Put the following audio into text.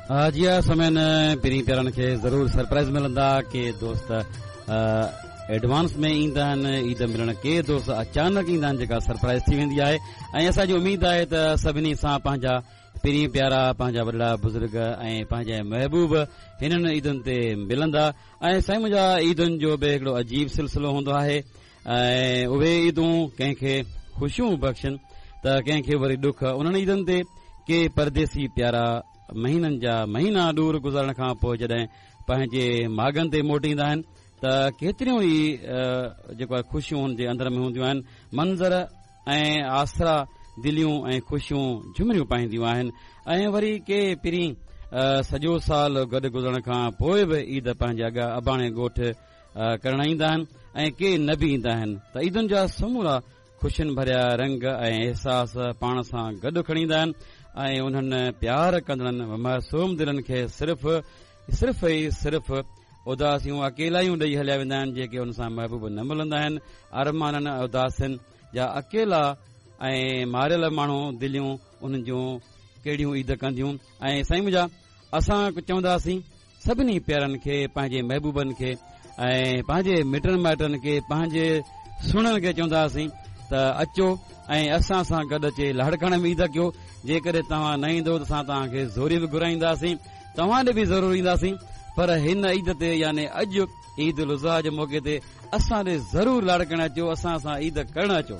جي ها سامعين پرين پيارن کي ضرور سرپرائز ملندا ڪي دوست ايڊوانس ۾ ايندا آهن عيد ملڻ ڪي دوست اچانڪ ايندا آهن جيڪا سرپرائز ٿي ويندي آهي ۽ اسان جي اميد آهي ته سڀني سان پنهنجا پرين پيارا پنهنجا وڏڙا بزرگ ۽ پنهنجا محبوب هنن عيدن تي ملندا ۽ سائين منهنجا عيدن جو به هڪڙو عجيب سلسلو هوندو آهي ۽ اهي عيدون ڪنهن کي خوشيون بخشن ته ڪنهن کي وري ڏک. انهن عيدن تي ڪي پرديسي پيارا مهينن جا مهينا ڏور گذارڻ کان پوء جڏهن پنهنجي ماڳن تي موٽي ايندا آهن ته ڪيتريون ئي جيڪو آهي خوشيون هن جي اندر ۾ هونديون آهن. منظر ۽ آسرا دليون ۽ خوشيون جهمريون پائينديون آهن ۽ وري ڪي پرين سڄو سال گڏ گذرڻ کان پوء به عيد پنهنجي اباڻي ڳوٺ ڪرڻ ايندا آهن ۽ ڪي نه به ايندا آهن ته عيدن جا سمورا خوشين ڀريا رنگ ۽ احساس پاڻ سان گڏ کڻي ايندا آهن ۽ انهن پيار ڪندڙن معصوم دلن کي صرف صرف ئي صرف اداسيون اڪيلايون ڏئي هليا ويندا آهن جيڪي ان سان محبوب نه ملندا آهن ارمانن اداسين جا اڪيلا ۽ ماريل ماڻهو دليون انهن جون ڪهڙيون عيد ڪنديون ۽ سائين منهنجا اسان چونداسين سڀني پيارن کي، پنهنجي محبوبن کي ۽ پنهنجي مٽن مائٽن کي، پنهنجي سهڻن کي چونداسين ته اچو ۽ اسان سان گڏ اچي لاڙڪاڻي ۾ عيد ڪيو. جيڪڏهن توهان نه ايندو ته اسان توهان کي زوري به گهرائينداسين. توهان ڏي به ضرور اينداسين پر هن عيد تي يعني اڄ عيد الاضحيٰ جي موقعي تي اسان ڏي ضرور لاڙڪاڻي اچو، اسان سان عيد ڪرڻ اچو.